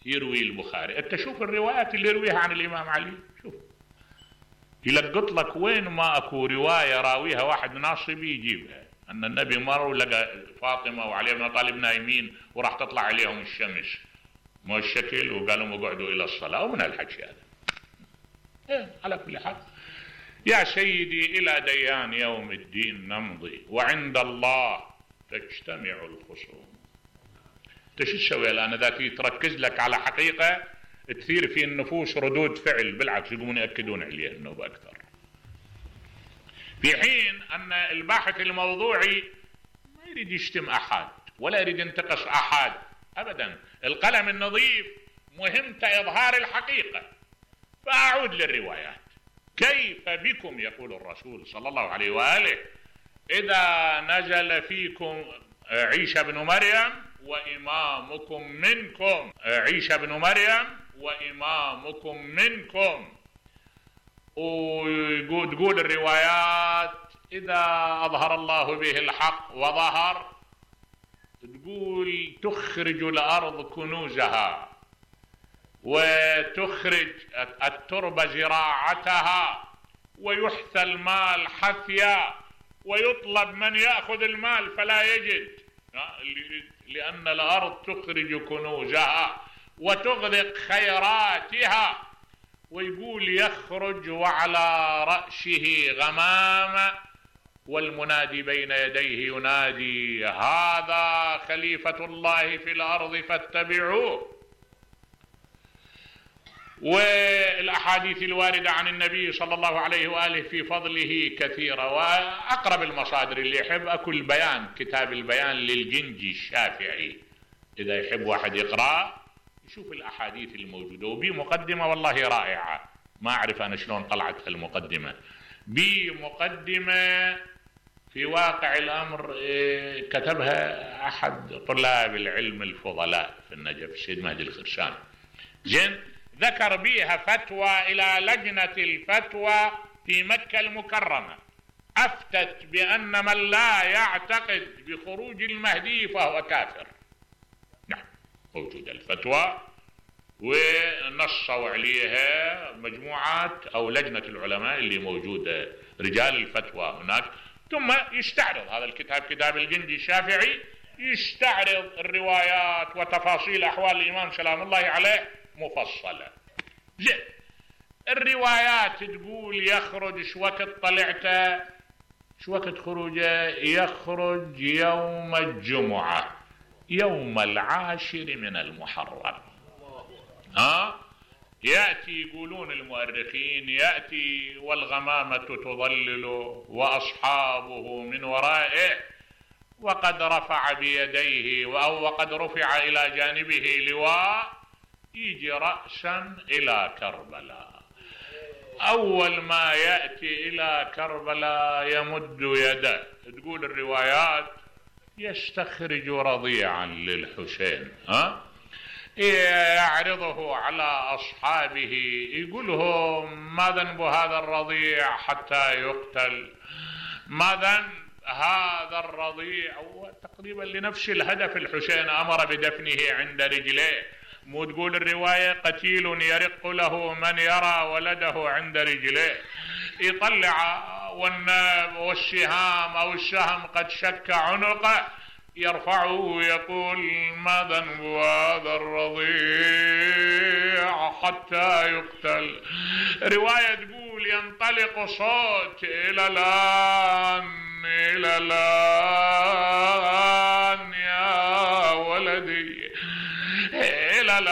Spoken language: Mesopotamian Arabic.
يروي البخاري. انت شوف الروايات اللي يرويها عن الامام علي، شوف يلقط لك وين ما اكو روايه راويها واحد ناصبي يجيبها، ان النبي مر ولقى فاطمه وعلي بن طالب نايمين وراح تطلع عليهم الشمس مو الشكل وقال لهم اقعدوا الى الصلاه، ومن الحكي هذا. على كل حال يا سيدي الى ديان يوم الدين نمضي، وعند الله تجتمع الخصوم. انت شو تسوي الان اذا تركز لك على حقيقه تثير في النفوس ردود فعل، بالعكس يقومون ياكدون عليها النوبه اكثر، في حين ان الباحث الموضوعي ما يريد يشتم احد ولا يريد ينتقص احد ابدا. القلم النظيف مهمته اظهار الحقيقه. فاعود للروايات. كيف بكم يقول الرسول صلى الله عليه واله اذا نزل فيكم عيسى بن مريم وامامكم منكم، عيسى بن مريم وامامكم منكم. وتقول الروايات اذا اظهر الله به الحق وظهر، تقول تخرج الارض كنوزها وتخرج التربة زراعتها ويحثى المال حثيا ويطلب من يأخذ المال فلا يجد، لأن الأرض تخرج كنوزها وتغرق خيراتها. ويقول يخرج وعلى رأسه غمامة والمنادي بين يديه ينادي هذا خليفة الله في الأرض فاتبعوه. والأحاديث الواردة عن النبي صلى الله عليه وآله في فضله كثيرة، وأقرب المصادر اللي يحب أكو البيان، كتاب البيان للجنجي الشافعي، إذا يحب واحد يقرأ يشوف الأحاديث الموجودة، وبمقدمة والله رائعة. ما أعرف أنا شلون طلعت المقدمة، بمقدمة في واقع الأمر كتبها أحد طلاب العلم الفضلاء في النجف السيد مهدي الخرسان، زين، ذكر بها فتوى إلى لجنة الفتوى في مكة المكرمة، أفتت بأن من لا يعتقد بخروج المهدي فهو كافر. نعم موجودة الفتوى ونصوا عليها مجموعات أو لجنة العلماء اللي موجودة رجال الفتوى هناك. ثم يستعرض هذا الكتاب، كتاب الجنجي الشافعي، يستعرض الروايات وتفاصيل أحوال الإمام سلام الله عليه مفصلة. زين، الروايات تقول يخرج شو وقت طلعته، شو وقت خروجه، يخرج يوم الجمعة يوم 10 من المحرم. يأتي يقولون المؤرخين يأتي والغمامة تظلله وأصحابه من ورائه وقد رفع بيديه أو وقد رفع إلى جانبه لواء، يجي رأسا إلى كربلاء. أول ما يأتي إلى كربلاء يمد يده، تقول الروايات يستخرج رضيعا للحسين، يعرضه على أصحابه، يقول لهم ما ذنب هذا الرضيع حتى يقتل، ما ذنب هذا الرضيع. وتقريبا لنفس الهدف الحسين أمر بدفنه عند رجليه. مو تقول الرواية قتيل يرق له من يرى ولده عند رجليه، يطلع والسهام أو السهم قد شك عنقه، يرفعه ويقول ما ذنب هذا الرضيع حتى يقتل. رواية تقول ينطلق صوت إلى الآن إلى الآن يا ولدي إلى الآن